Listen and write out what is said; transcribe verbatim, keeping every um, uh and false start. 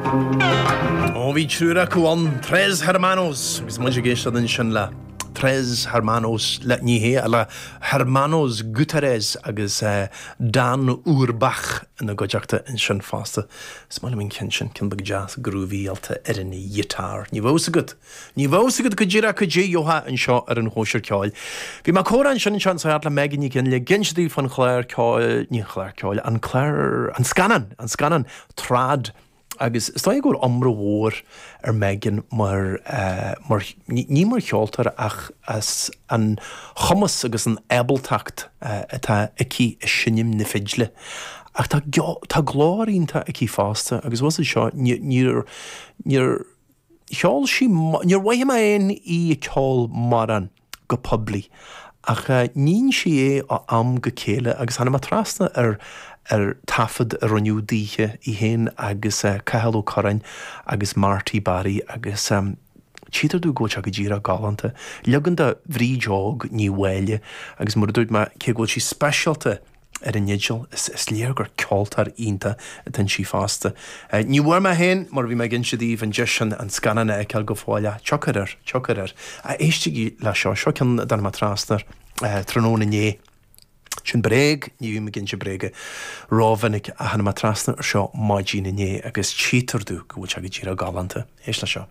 Ó bhí triúr acu ann Tres Hermanos agus muid ag éisteacht ansin le Tres Hermanos le ní hé le Hermanos Gutierrez agus uh, Dan Urbach ina gcuideachta ansin fosta. Is maith liom an ceann sin ceann beag deas groovy-áilte ar an ghiotár. Ní bheadh agat. Ní bheadh agat go díreach go dtí Joha anseo ar an Chóisir Ceoil. Bhí mé ag comhrá ansin anseo an le Megan Ní le ag inse daoibh faoin chlár ceoil ní chlár ceoil an clár an scannán an scannán trad agus is dóigh go bhfuil iomrá mhór ar Megan mar uh, mar ní mar cheoltóir ach as an chumas agus an ábaltacht uh, atá aici i seinm na fidle. Ach tá tá glór iontach aici fosta agus was seo níor níor cheol sí níor mhaith mé aon í ceol maran go poiblí. Ach uh, níonn sí é ó am go chéile agus tháinig mé trasna ar ar taifead a rinneadh daoithe í féin agus uh, Cathal Ó Curráin agus Marty Barry agus um, Tchítear domh go bhfuil sé go díreach galánta. Leagan de Bhríd Óg Ní Mháille agus mar dúirt mé cé go bhfuil sí speisialta ar an fhidil is, is léir gur ceoltóir iontach atá inti fosta. Uh, ní bhfuair mé féin mar bhí mé ag inse daoibh an deis sin an scannán a fheiceáil go fóill tiocfaidh air tiocfaidh air. A éistigí le seo seo ceann a dtáinig mé trasna uh, tráthnóna inné. Sin bréag ní bhím ag inse bréige rómhinic a tháinig mé trasna ar seo maidin inné agus tchítear domh go bhfuil sé go díreach galánta. Éist le seo.